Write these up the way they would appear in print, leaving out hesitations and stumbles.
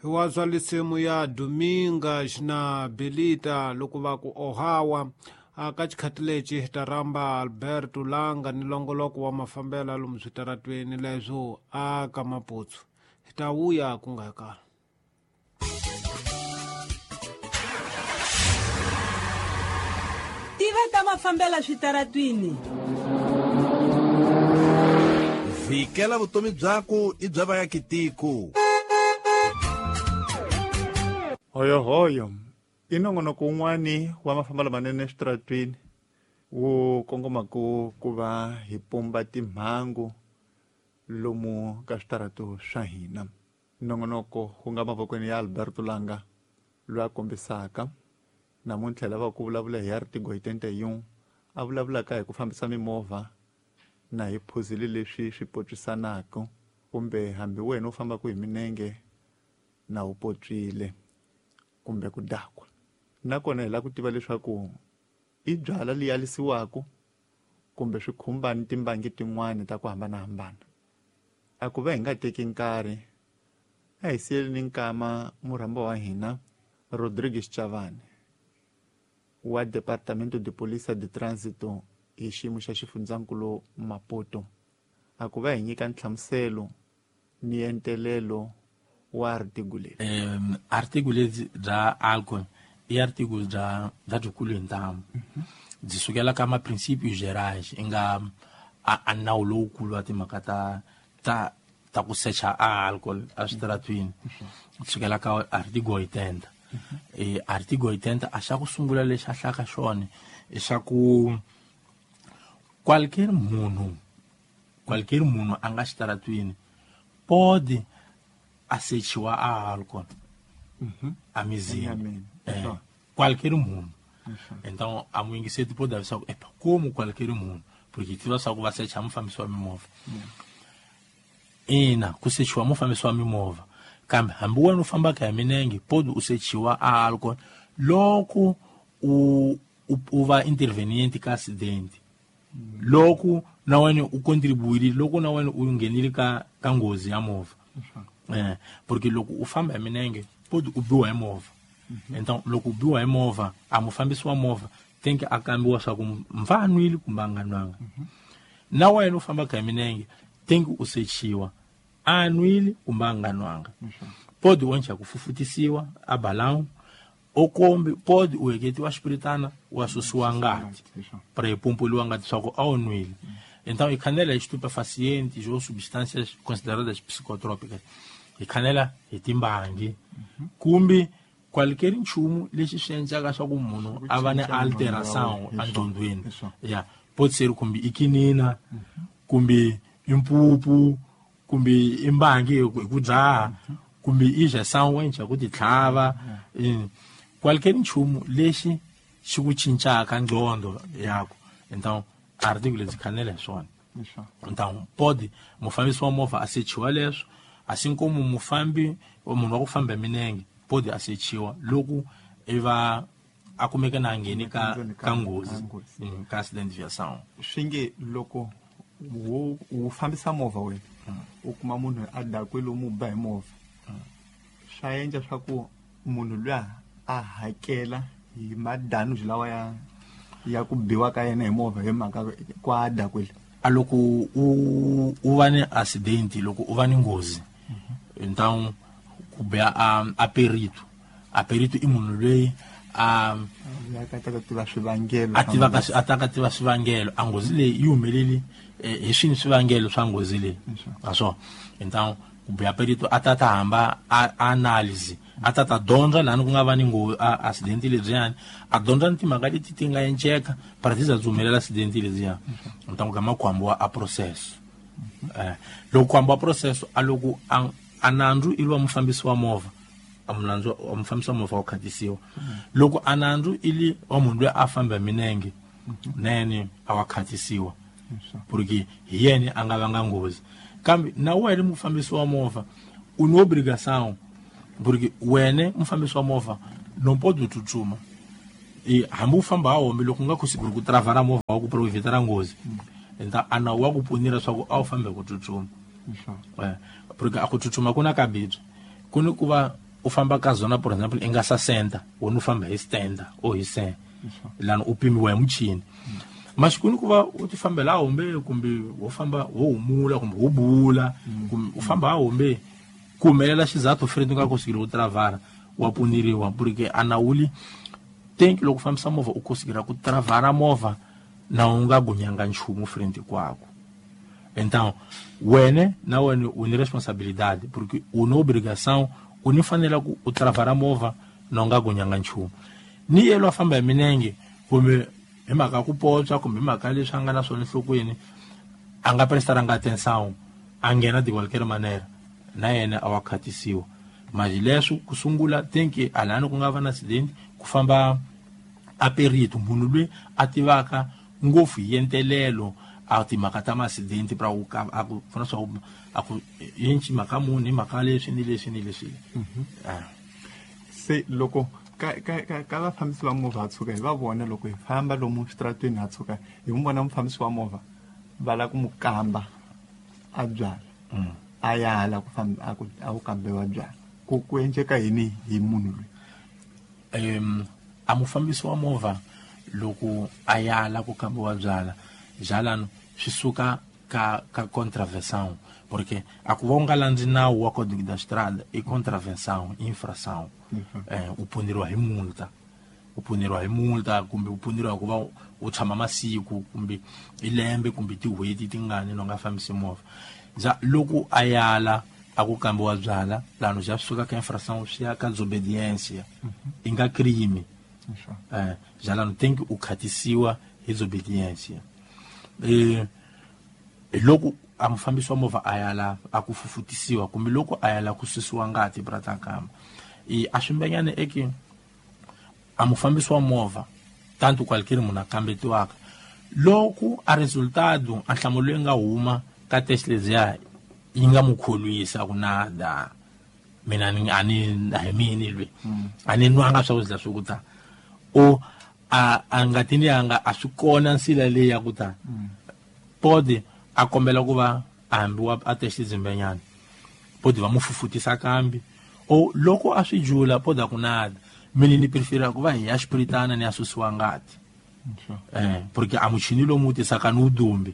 Hi wa zwa lisimu ya Domingas na Belita loko va ku Ohawa. Ka xikhati lexi hi ta rhamba Alberto Langa ni longoloko wa mafambelo ya lomu switaratweni leswo a ka Maputsu. Hi ta vuya ku nga kala. Tiva ta mafambela switaratwini. Vhikela vutomi byaku i bya vayakitiko. Hoyohoyo i nongonoko wun'wani wa mafambelo manene eswitaratwini wu kongomaku ku va hi pumba timhangu lomu ka switaratu swa hina. Nongonoko wu nga mavokweni ya Alberto Langa loyi a kombisaka namuntlha hi lava ku vulavula hi artigo 81 a vulavulaka hi ku fambisa mimovha na hi phuzile leswi swi potswisanaka kumbe hambi wena u fambaka hi minenge na u potswile kumbe ku dakwa. Nakona hi lava ku tiva leswaku i byala leyi alisiwaka kumbe swi khumba ni timbangi tin'wani ta ku hambanahambana. A ku va hi nga teki nkarhi a hi siyeleni nkama murhamba wa hina Rodrigues Chavani wa Departamento de Polícia de Trânsito hi xiyimo xa xifundzankulu Maputo a ku va hi nyika nhlamuselo ni entelelo wa article leri. Article lebyi bya alcohol i article bya byikulu hi ntamu. Byi sukela ka ma princípios gerais i nga a nawu lowukulu wa timhaka ta ku secha a alcohol a switaratwini. Sukela ka artigo 80. Artigo 80 a xa ku sungula lexi a hlaka xona i xa ku qualquer munhu a nga xitaratwini pode a sechiwa a alcohol a mizini. Qualquer munhu. Então a muyingiseti pode avisa ku epa como qualquer munhu porque tiva swa ku va secha mufambisi wa mimovha. Ina ku sechiwa mufambisi wa mimovha kambe hambi wena u fambaka hi minenge pode u sechiwa a alcohol loko u va intervenient ka accident. Loko na wena u contribuile loko na wena u nghenile ka nghozi ya movha. Porque loko u famba hi minenge pode u biwa hi movha. Então loko u biwa hi movha a mufambisi wa movha tem que a kambiwa swa ku mfa a nwile kumbe a nga nwanga. Na wena u fambaka hi minenge tem que u sechiwa a nwile kumbe a nga nwanga. Pode u endla ku fufutisiwa a balão o kombi pode u heketiwa xipiritana wa susiwa ngati para ipompoliwa ngati swa ku a wu nwile. Então hi khanela hi estupefacientes ou substâncias consideradas psicotrópicas. Hi khanela hi timbangi kumbe qualquer nchumu lexi swi endlaka swa ku munhu a va ni alteração enqondweni. Ya pode ser kumbe i kinina kumbe i mpupu kumbe i mbangi hi ku dzaha kumbe i injeção wa endla ku ti tlhava. Qualquer nchumu lexi xi ku cincaka nqondo yako. Então artigo lebyi khanela hi swona. Então pode mufambisi wa movha a sechiwa leswo assim como mufambi munhu wa ku famba hi minenge pode a sechiwa loko i va a kumeka na ngheni ka nghozi ka accident viação. Swi nge loko wu fambisa movha wena u kuma munhu a dakwile u mu ba hi movha swa endla swa ku munhu luya a hakela hi madanuji lawa ya ku biwa ka yena hi movha hi mhaka ku a dakwile. A loko u va ni accident loko u va ni nghozi então ku biya a perito. A perito i munhu loyi a tiva swivangelo a ta tiva swivangelo a nghozi leyi yi humeleli hi swini swivangelo swa nghozi leyi naswona. Então ku biya perito a ta hamba a analyse a ta dyondza lani ku nga va ni nghozi accident lebyiyani a dyondza ni timhaka leti ti nga enceka para ti za byi humelela accident lebyiya. Então gama ku hambiwa a processo. Loko ku hambiwa processo a loko a nandzu i wa mufambisi wa movha a munandzu wa mufambisi wa movha wa khatisiwa. Loko a nandzu i li wa munhu loyi a famba hi minenge nene a wa khatisiwa porque hi yena a nga vanga nghozi. Kambe na wena mufambisi wa movha u ni obrigação porque wena mufambisi wa movha não pode tsutsuma hambi u famba ha hombe loko u nga conseguir ku travara movha wa ku provitara nghozi. Então a nawu wa ku pfunira swa ku a wu fambi ku tsutsuma. Porque a ku tsutsuma ku na kabibye ku ni ku va u famba ka zona, por example, i nga 60, wena u famba hi 70 o hi 100, lani u pimiwa hi muchini. Maxikuni ku va u ti fambela hombe, kumbe wo famba wo humula, kumbe wo bula, kumbe u famba hombe, ku humelela xizathu friend nga kosikile u travara, wa puniriwa, porque a nawuli tenki loko fambisa movha u kosikela ku travara movha na u nga gunyanga nchumu friend kwako. Então wena na wena u ni responsabilidade, porque u na obrigação, u ni fanela ku u travara movha na u nga gunyanga nchumu. Ni yelo a famba hi minenge, kumbe hi mhaka ku potswa, kumbe hi mhaka leswi a nga na swona enhlokweni, a nga prestaranga atenção, a nghena de qualquer maneira, na yena a wa khatisiwa. Mas leswi ku sungula tenki alani ku nga va na accident, ku famba a perito, munhu loyi a tivaka ngopfu hi entelelo a timhaka ta ma-accident, pra ku ka, a ku pfuna swa ku, a ku yinci mhaka muni, hi mhaka leswi ni leswi ni leswi. Se loko ka vafambisi va movha ha tshuka hi va vona loko hi famba lomu switaratweni, ha tshuka hi n'wi vona mufambisi wa movha va lava ku n'wi kamba a byala, a yala ku famba, a ku, a ku kambiwa byala, ku endleka yini hi munhu loyi? A mufambisi wa movha loko a yala ku kambiwa byala, byalano swi suka ka contravenção, porque a ku va u nga landzi nawu wa Código da Estrada i contravenção, infração. U puniriwa hi multa, u puniriwa hi multa, kumbe u puniriwa ku va u tshama masiku, kumbe i lembe, kumbe tin'hweti tingani no nga fambisi movha. Ja loko a yala a ku kambiwa byala, lano ja suka ka infração swi ya ka desobediência, i nga crime. Ja lano tenki u khatisiwa hi desobediência. Loko a mufambisi wa movha a yala a ku fufutisiwa, kumbe loko a yala ku susiwa ngati brata kamba, a swi mbenyane eke a mufambisi wa movha tanto qualquer munhu a kambetiwaka, loko a resultado a nhlamulo leyi nga huma ka test leziya yi nga mu kholwisa ku nada, mina ni a ni a hi mini lwe, a ni nwanga swa ku zila swi ku ta, o a ngati ni yanga a swi kona nsila leyi ya ku ta, pode a kombela ku va a hambiwa a test zimbenyana, pode va mu fufutisa kambi, o loko a swi jula pode a ku nada, mina ni prefera ku va hi ya xipiritana ni ya susiwa ngati. Porque a muchini lomu tisaka ni udumbi.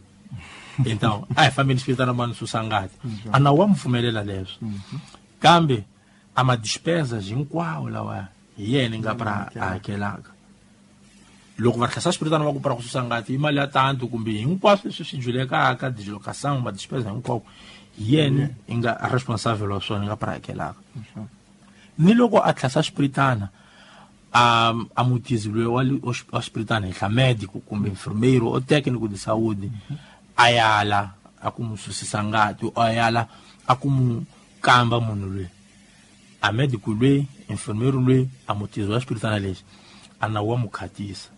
Então a hi fambeni xipiritana ma ni susa ngati. A nawu wa mu pfumelela leswo. Kambe a ma despesa hinkwawo lawa hi yena nga pra a hakelaka. Loko va tlhasa xipiritana va ku pra ku susa ngati i mali ya tanto, kumbe hinkwaswo leswi swi julekaka, dislocação, ma despesa hinkwako, hi yena i nga responsible wa swona, i nga pra hakelaka. Ni loko a tlhasa xipiritana, a mutizi loyi wa xipiritana henhla medico kumbe enfermeiro o técnico de saúde, a yala a ku mu susisa ngati, a yala a ku mu kamba munhu loyi. A medico loyi, enfermeiro loyi, a mutizi wa xipiritana lexi, a nawu wa mu khatisa.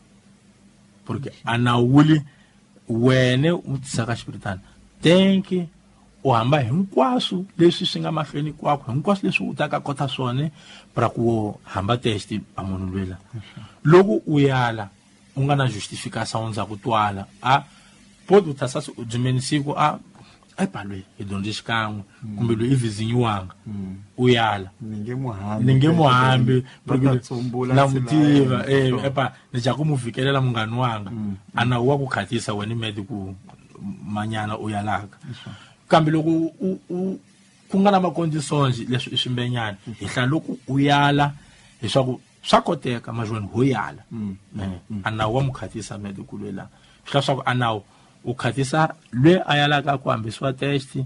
Porque a nawuli wena u tisaka xipiritana, tenki u hamba hinkwaswo leswi swi nga mahlweni kwakho, hinkwaswo leswi u taka kota swona pra ku hamba test a munhu loyi la. Loko u yala u nga na justification ndzhaku twala, a pode u tasa u dzimeni siku a epa loyi hi dyondze xikan'we, kumbe loyi i vizinyiwanga, u yala. Ni nge mu hambi. Ni nge mu hambi, Va ta porque tsumbula na tsela mu tiva, ya yena. epa, ni ja ku mu fikelela munghani wanga. A nawu wa ku khatisa wena med ku manyana u yalaka. Kambe loko ku nga na maconditions leswi i swimbenyana, hi hla loko u yala leswaku swa koteka majoni ho yala. A nawu wa mu khatisa med ku lwela. Swi hla swa ku a nawu u khatisa lwe a yalaka ku hambisiwa test,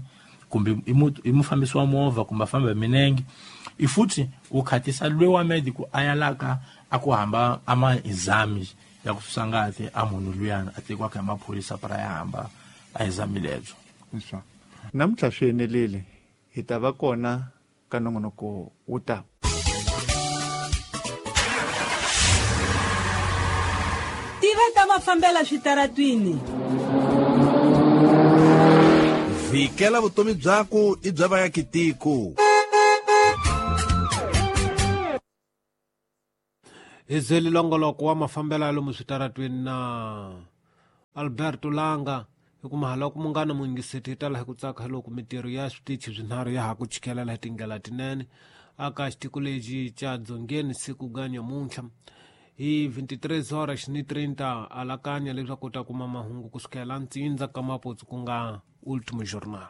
kumbe i mufambisi wa movha, kumbe a famba hi minenge. I futhi u khatisa lwe wa medico a yalaka a ku hamba a ma exams ya ku susa ngati a munhu luyana a tekiwaka hi maphorisa para ya hamba a exame lebyo. Leswaku namuntlha swi enelile, hi ta va kona ka nongonoko wo ta. Tiva ta mafambela switaratwini. Vikela vutomi byaku i bya vayakitiko. Hi zeli longoloko wa mafambelo ya lomu switaratwini na Alberto Langa. Hi ku mahala ku munghana muyingiseti hi tala hi ku tsaka hi loko mitirho ya switichi swinharhu ya ha ku chikelela hi tindlela tinene. aka xitiko lexi xa dzongeni siku ga nyamuntlha hi 23 horas ni 30 alakanya leswaku u ta kuma mahungu kusukela ntsindza ka maputsu ku nga Ultimo Jornal.